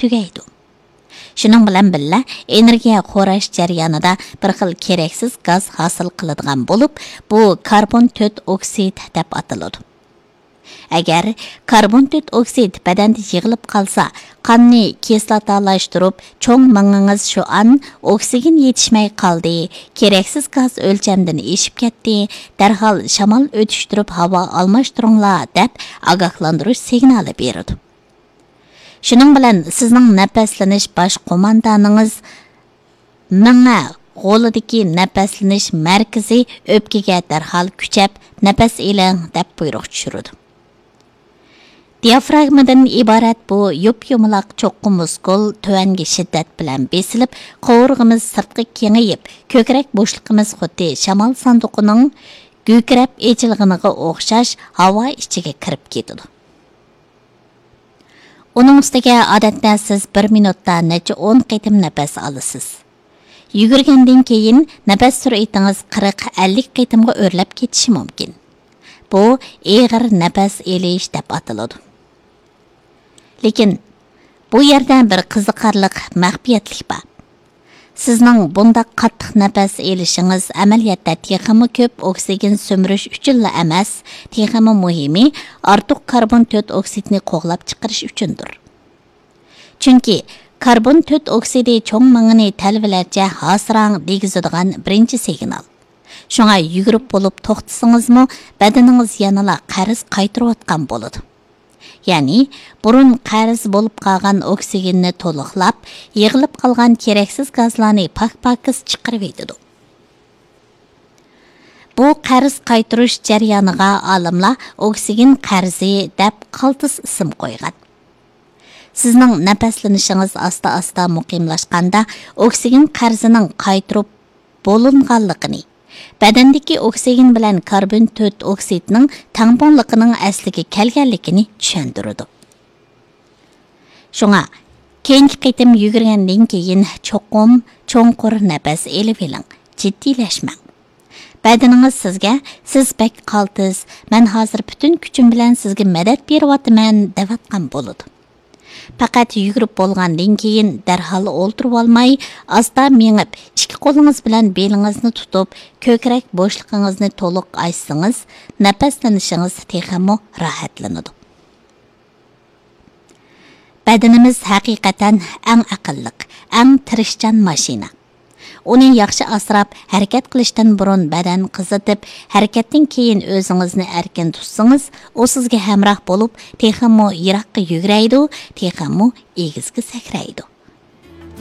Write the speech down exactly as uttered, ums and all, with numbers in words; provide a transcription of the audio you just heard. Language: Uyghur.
تۈگەيدۇ. شۇنىڭ بىلەن بىللە، ئېنېرگىيە خوراش جەريانىدا بىر خىل كېرەكسىز گاز ھاسىل قىلىدىغان بولۇپ، بۇ كاربون تۆت ئوكسىد دەپ ئاتىلىدۇ. ئەگەر كاربون تۆت ئوكسىد بەدەندە يىغىلىپ قالسا، قاننى كىسلاتالاشتۇرۇپ، چوڭ مېڭىڭىز شۇ ئان ئوكسىگېن يېتىشمەي قالدى، كېرەكسىز گاز ئۆلچەمدىن ئېشىپ كەتتى، دەرھال شامال ئۆتۈشتۈرۈپ ھاۋا ئالماشتۇرۇڭلار، دەپ ئاگاھلاندۇرۇش سىگنالى بېرىدۇ. شۇنىڭ بىلەن سىزنىڭ نەپەسلىنىش باش قوماندانىڭىز مېڭە غولىدىكى نەپەسلىنىش مەركىزى ئۆپكىگە دەرھال كۈچەپ نەپەس ئېلىڭ دەپ بۇيرۇق چۈشۈرىدۇ. دىئافراگمىدىن ئىبارەت بۇ يۇپ-يۇمىلاق چوققا مۇسكۇل تۆۋەنگە شىددەت بىلەن بېسىلىپ، قوۋۇرغىمىز سىرتقا كېڭىيىپ، كۆكرەك بوشلۇقىمىز خۇددى شامال ساندۇقىنىڭ گۈكىرەپ ئېچىلغىنىغا ئوخشاش ھاۋا ئىچىگە كىرىپ كېتىدۇ. ئۇنىڭ ئۈستىگە ئادەتتە سىز بىر مىنۇتتا نەچچە ئون قېتىم نەپەس ئالىسىز. يۈگۈرگەندىن كېيىن نەپەس سۈرئىتىڭىز قىرىق، ئەللىك قېتىمغا ئۆرلەپ كېتىشى مۇمكىن. بۇ ئېغىر نەپەس ئېلىش دەپ ئاتىلىدۇ. لېكىن بۇ يەردە بىر قىزىقارلىق مەخپىيەتلىك بار. سىزنىڭ بۇنداق قاتتىق نەپەس ئېلىشىڭىز ئەمەلىيەتتە تېخىمۇ كۆپ ئوكسىگېن سۈمۈرۈش ئۈچۈنلا ئەمەس، تېخىمۇ مۇھىمى، ئارتۇق كاربون تۆت ئوكسىدنى قوغلاپ چىقىرىش ئۈچۈندۇر. چۈنكى كاربون تۆت ئوكسىدى چوڭ مېڭىنى تەلۋىلەرچە ھاسىراڭ دېگۈزىدىغان بىرىنچى سىگنال. شۇڭا يۈگۈرۈپ بولۇپ توختىسىڭىزمۇ، بەدىنىڭىز يەنىلا قەرز قايتۇرۇۋاتقان بولىدۇ. يەنى بۇرۇن قەرز بولۇپ قالغان ئوكسىگېننى تولۇقلاپ، يىغىلىپ قالغان كېرەكسىز گازلارنى پاك-پاكىز چىقىرىۋېتىدۇ. بۇ قەرز قايتۇرۇش جەريانىغا ئالىملار ئوكسىگېن قەرزى دەپ قالتىس ئىسىم قويغان. سىزنىڭ نەپەسلىنىشىڭىز ئاستا-ئاستا مۇقىملاشقاندا، ئوكسىگېن قەرزىنىڭ قايتۇرۇپ بولۇنغانلىقىنى، بەدەندىكى ئوكسىگېن بىلەن كاربون تۆت ئوكسىدنىڭ تەڭپۇڭلۇقىنىڭ ئەسلىگە كەلگەنلىكىنى چۈشەندۈرىدۇ. شۇڭا، كېيىنكى قېتىم يۈگۈرگەندىن كېيىن چوقۇم چوڭقۇر نەپەس ئېلىۋېلىڭ، جىددىيلەشمەڭ. بەدىنىڭىز سىزگە، «سىز بەك قالتىس، مەن ھازىر پۈتۈن كۈچۈم بىلەن سىزگە مەدەت بېرىۋاتىمەن» دەۋاتقان بولىدۇ. پەقەت يۈگۈرۈپ بولغاندىن كېيىن دەرھال ئولتۇرۇۋالماي، ئاستا مېڭىپ، ئىككى قولىڭىز بىلەن بېلىڭىزنى تۇتۇپ، كۆكرەك بوشلۇقىڭىزنى تولۇق ئاچسىڭىز، نەپەسلىنىشىڭىز تېخىمۇ راھەتلىنىدۇ. بەدىنىمىز ھەقىقەتەن ئەڭ ئەقىللىق، ئەڭ تىرىشچان ماشىنا. ئۇنى ياخشى ئاسراپ، ھەرىكەت قىلىشتىن بۇرۇن بەدەن قىزىتىپ، ھەرىكەتتىن كېيىن ئۆزىڭىزنى ئەركىن تۇتسىڭىز، ئۇ سىزگە ھەمراھ بولۇپ، تېخىمۇ يىراققا يۈگرەيدۇ، تېخىمۇ ئېگىزگە سەكرەيدۇ.